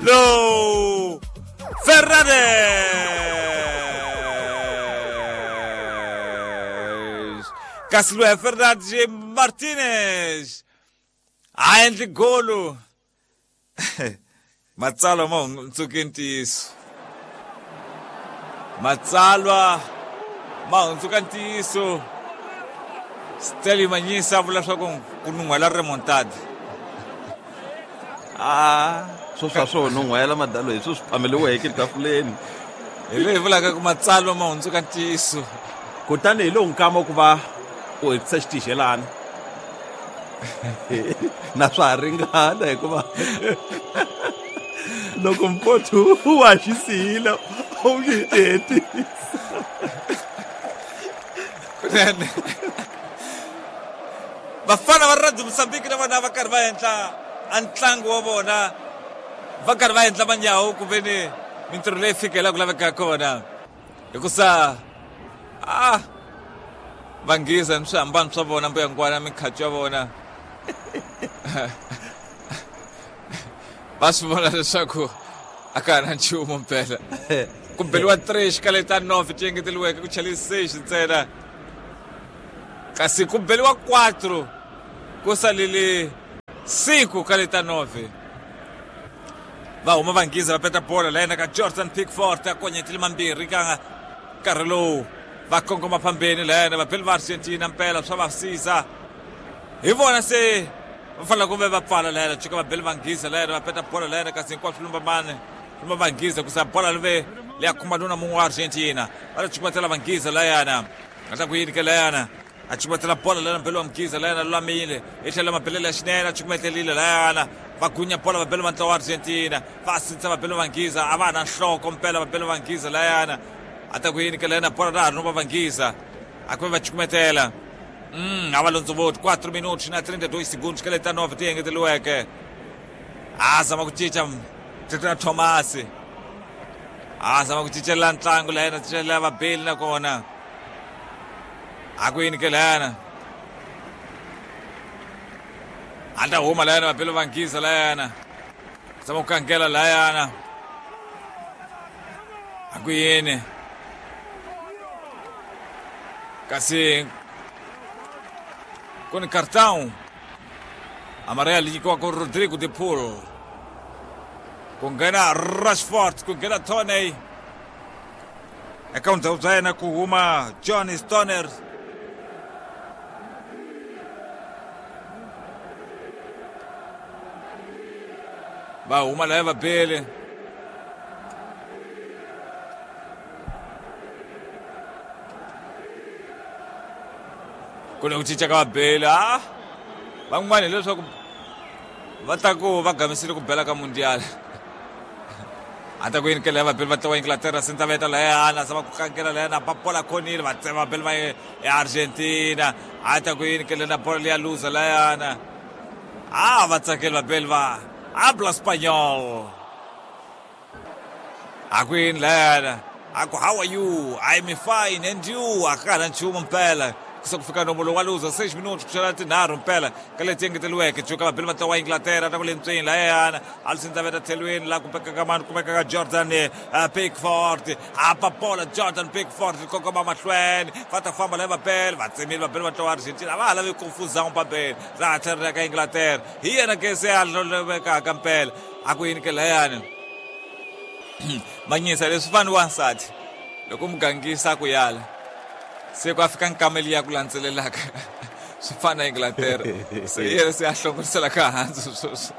Low Fernandes! Kasi loyi Fernandes Martinez a endli golo. Matsalwa ma hundzuke ntiyiso. Matsalwa ma hundzuka ntiyiso. Stanley Manyisa a vula swa ku ku nun'hwela remontad. Ah, swo swa swo nun'hwela madalo hi swo swi phameliweke etafuleni. Hi leyi vulaka ku matsalwa ma hundzuka ntiyiso. Kutani hi lowu nkama ku va u hetisa xitixelana. Na swa ha ringana hikuva loko mpotho wa xi siyile u nge ti hetisa. Kunene. Vafana va Radio Mozambique na vona va karhi va endla a ntlangu wa vona va karhi va endla manyawu ku ve ni mintirho leyi fika laha ku lavekaka kona hikusa a va nghiza ni swihambano swa vona mbuyangwana mikhacu ya vona va swi vona leswaku a ka ha na nchumu mpela ku beliwa 3 xikale ta 9 ti engeteriweke ku chele 6 ntsena kasi ku beliwa 4 ku salele 5 ka leta 9 va huma va nghiza va peta bola la yena ka Jordan Pickford a konyetile mambirhi ka nkarhi lowu va kongoma phambeni la yena vabeli va Argentina mpela swa va siza hi vona se va fanele ku ve va pfala la yena cuka vabeli va nghiza la yena va peta bola la yena kasi hinkwaswo lumba mani lumba va nghiza kusa bola live leya khumba nuna mun'we wa Argentina va ta cukumetela va nghiza la yena a ta ku yini ke la yena a cukumetela bola lana mbelo wa mgiza layana lulamile hi tlhelo mabelelo ya xinene a cukumetelile layana va gunya bola vabelo va ntlawa wa Argentina va sindzisa vabelo va nghiza a va ha na nhloko mpela vabelo va nghiza layana a ta ku yini ke layana bola ra ha ri no va va nghiza a ku ve va cukumetela a va londzovoti 4 minutos na 32 segundos ka leti ta 9 ti engeteriweke a zama ku cinca Tata Thomas a zama ku cincela ntlangu layana cincela vabeli nakona a ku yini ke layana a ta huma layana vabeli va nghiza layana zama ku kangela layana a ku yini kasi ku ni cartão amarelo nyikiwaka Rodrigo de Paul ku nghena Rashford ku nghena Tony eka vundzhaku bya yena ku huma Johnny Stoner va huma laya vabeli ku ni ku cinca ka vabeli a van'wana hileswaku va ta ku va gamisile ku bela ka mundial a ta ku yini kele vabeli va tlawa Inglaterra senta veta layana zama ku kankela layana ba bola khonile va tsema vabeli va ya Argentina a ta ku yini kele na bola leya luza layana a va tsakeli vabeli va habla Spanyol a ku yini layana a ku how are you I'm fine and you a ka ha na nchumu mpela ku se ku fika nomo lowu wa luza 6 minutos ku xela tinharhu mpela ka leti engeteriweke cuka vabeli va ntlawa wa Inglaterra ta ku le ntsweni layana Alisson Daveta tlhelweni laha kumekaka mani kumekaka Jordan Pickford apa bola Jordan Pickford kongoma mahlweni va ta famba la vabeli va tsemile vabeli va ntlawa wa Argentina a va ha lavi confusão pambeni ra tlhelo ra ka Inglaterra hi yena ke se a lovekaka mpela a ku yini ke layani manyisa leswi fani wansati loko mugangisa ku yala se ku a fika nkama liya ku landzelelaka swi fana Inglaterra se yena se a hlongorisela ka hansi sweswi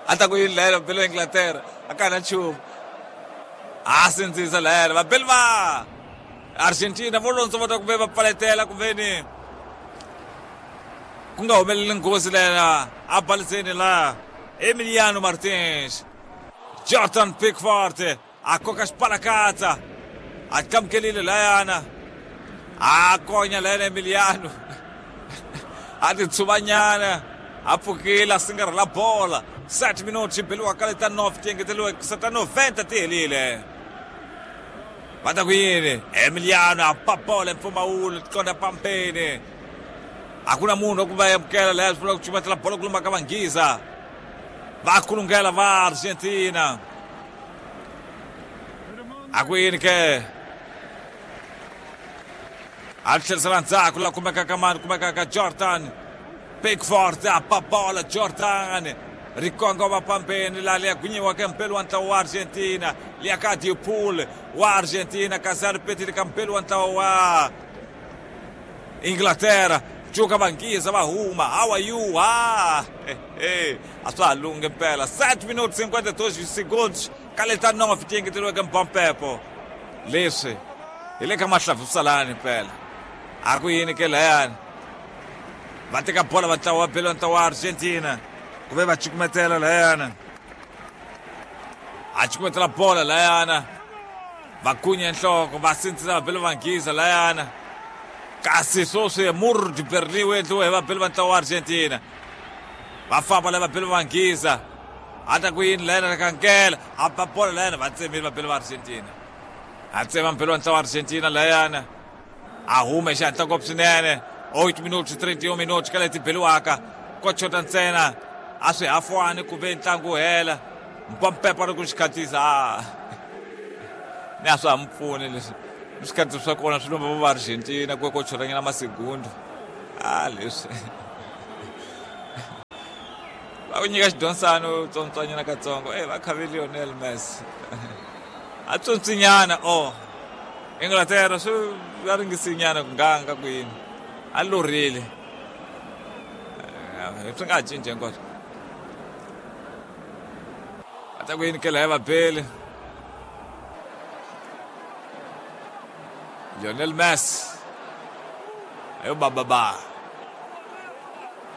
a ta ku yini layela vabeli va Inglaterra a ka na nchumu a sindzisa layela vabeli va Argentina vo londzo va ta ku ve va pfaletela ku ve ni ku nga humeleli nghozi layela a baliseni la Emiliano Martins Jordan Pickford a koka xipalakatsa a tlamukelile layana a konya layana Emiliano a titshuvanyana a pfukile a singarhela bola 7 minutos xi beliwa ka leta 9 ti engeteriwe ta 90 ti helile va ta ku yini Emiliano a ba bola mpfumawulo tikonda pampeni a ku na munhu wa ku va amukela laya swi vula ku cumatela bola ku lumba ka vanghiza. Va kulungela va Argentina. A ku yini ke? A tlherisela ndzhaku la kumekaka mani, kumekaka Jordan Pickford, a ba bola Jordan ri kongoma pambeni la liya gwinyiwaka mpeli wa ntlawa wa Argentina, liya ka Depaul wa Argentina, kasi a ri petile ka mpeli wa ntlawa wa Inglaterra. Cuka vanghiza va huma. How are you? Ah, a swa ha lunghi mpela. 7 minutos 52 segundos ka leta 9 ti engeteriweke mpampepo. Leswi hi le ka mahlavusalani mpela. A ku yini ke layani? Va teka bola va ntlawa wa belo ntlawa wa Argentina. Ku ve va cukumetela layana. A cukumetela bola layana. Va kunya nhloko, va sindzisa va belo vanghiza layana. Kasi sweswi Mur de Berlin wu endliwe hi vabeli va ntlawa wa Argentina. Va famba lava vabeli va Nghiza. A ta ku yini layana kankela, a ba bola layana va tsemile vabeli va Argentina. A tsema mbeli wa ntlawa wa Argentina layana. A huma hi xihatla ngopfu swinene. 8 minutos 31 minutos ka leti beliwaka. Ko chota ntsena a swi hafwani ku ve ntlangu wu hela. Mpampepa ri ku xi khatisa. Ni a swa ha mi pfuni leswi. Swikhatsi swa kona swi lomba va Argentina ku ko choranyana masegundo. Ah, leswi va ku nyika xidyondzano tsontswanyana katsongo. Va khave Lionel Messi a tsontsinyana. O Inglaterra swi va ringisinyana ku nganga ku yini, a lorile swi nga ha cinci hinkwaswo. Va ta ku yini ke laya vabeli Lionel Messi ayo bababa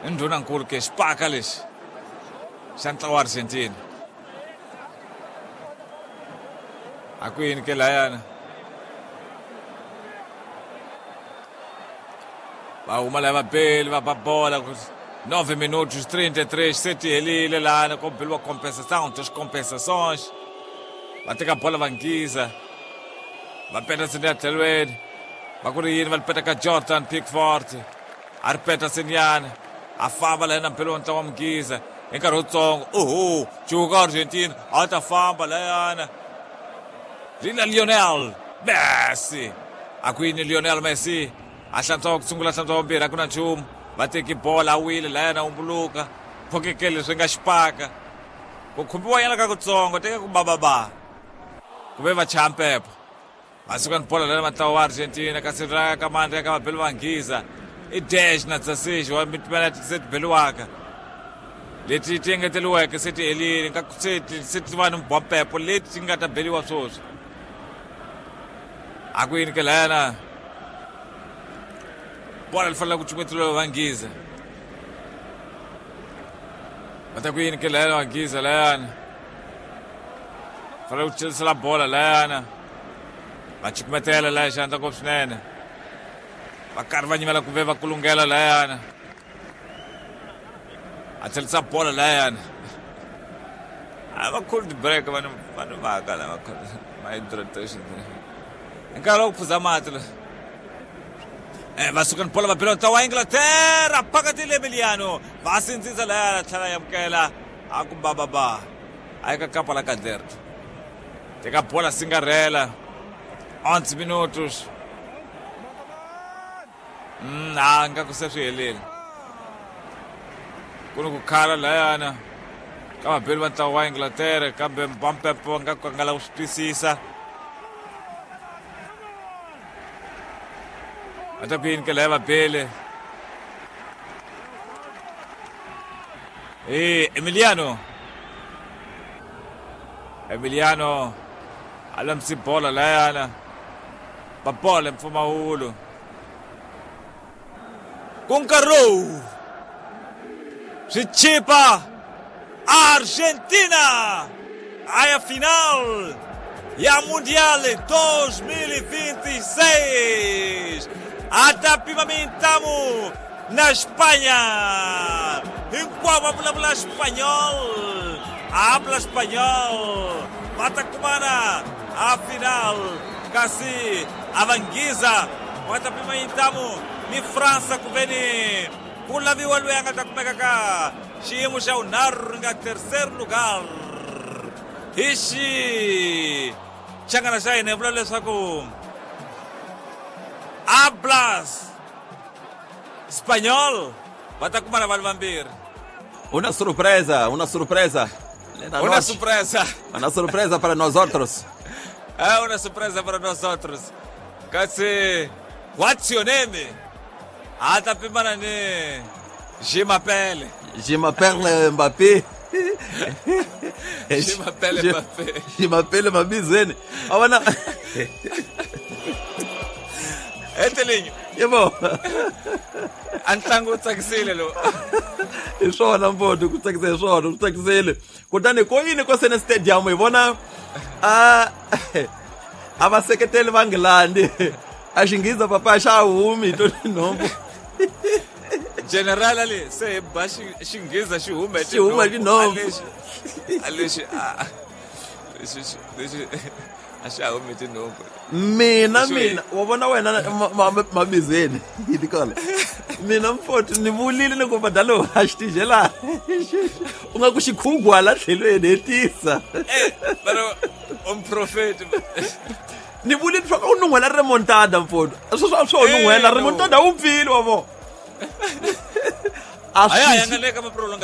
i ndhunankulu ke xipaka lexi xa ntlawa wa Argentina. A ku yini ke layana? Va huma laya vabeli va ba bola 9 minutos 33 se ti helile lana ko beliwa compensação, duas compensações. Va teka bola va nghiza. Va peta ya tlhelweni. Va ku ri yini va li peta ka Jordan Pickford. A ri peta senyana. A famba layana mpelo wa ntlawa wa Mughiza. Hi nkarhi wutsongo. Oho, cuka Argentina a ta famba layana. Lina Lionel Messi. A ku yini Lionel Messi? A hlantswa wa ku sungula, hlantswa wa vumbirhi, a ku na nchumu. Va teki bola a wile layana umbuluka. Phokekele leswi nga xipaka. Ku khumbiwa nyana ka kutsongo, teka ku bababa. Ku ve va chaya mpepo. Va suka ni bola layana ntlawa wa Argentina, kasi ra ka mandla ya ka vabeli va Nghiza. I dash na 16 wa mitimela se ti beliwaka. Leti ti engeteriweke se ti helile, nga se ti va ni mbompepo leti ti nga ta beliwa sweswi. A ku yini ke layana? Bola li fanele ku cukumetiwa va Nghiza. Va ta ku yini ke layana va Nghiza layana? Fanele ku chelisela bola layana. Va cukumetela laya xandla ngopfu swinene. Va karhi va nyimela ku ve va kulungela layana. A tlherisa bola layana. A va cold break vanhu vanhu va ka lava ma hydration. Hi nkarhi wa ku phuza mati la. Va suka ni bola va bela ntlawa wa Inglaterra phakathi le Emiliano. Va sindzisa layana tlhela ya amukela a ku bababa. A yi ka kapa la Caderto. Teka bola singarela. 11 minutos. A nga ku se swi helile. Ku ni ku khala layana ka vabeli va ntlawa wa Inglaterra, kambe Mpampepo nga ku nga lava ku swi twisisa. Va ta ku yini ke laya vabeli? Emiliano. Emiliano a lamsi bola layana. Ba bola mpfumawulo. Ku nkarhi lowu swi chipa Argentina a final ya Mundial 2026. A ta pima mintamu na Espanha. Hinkwavo va vulavula Espanhol. Habla espanhol. Va ta kumana a final. Kasi a va Nghiza va ta pima mintamu ni França ku veni ku laviwa loyi a nga ta kumeka ka Xiyimo xa vunharhu ri nga terceiro lugar hi xi changana xa hina hi vula leswaku Hablas Espanhol va ta kumana vanhu vambirhi. Una surpresa, una surpresa. Nella Una noche. surpresa. Una surpresa para nosotros. É una surpresa para nosotros. Kasi what's your name? A ta pimana ni Je m'appelle. Je m'appelle Mbappé. Je m'appelle Mbappé. Je m'appelle Mabizweni. A vona. Etelinho. Yebo. A ntlangu wu tsakisile lowu. Hi swona mfowethu, ku tsakisa hi swona, ku tsakisile. Kutani ko yini ko sene stadium hi vona a va seketeli va Nghilandhi. A xinghiza papa xa humi to tinhompfu. General ali se hi ba xinghiza xi huma hi Xi huma hi tinhompfu. A lexi a lexi lexi a xa humi tinhompfu. Mina mina wa vona wena mabizweni hi tikona. Mina mfowethu ni vulile ni ku badalo a xi tijela. U nga ku xikhugwa la tlhelweni hetisa. Eh, pero umprofeti. Ni vulile swa u nun'hwela remontada mfowethu. Sweswo a swo nun'hwela remontada wu pfile wa vona. A swi. Aya ya nga le ka ma prolonga.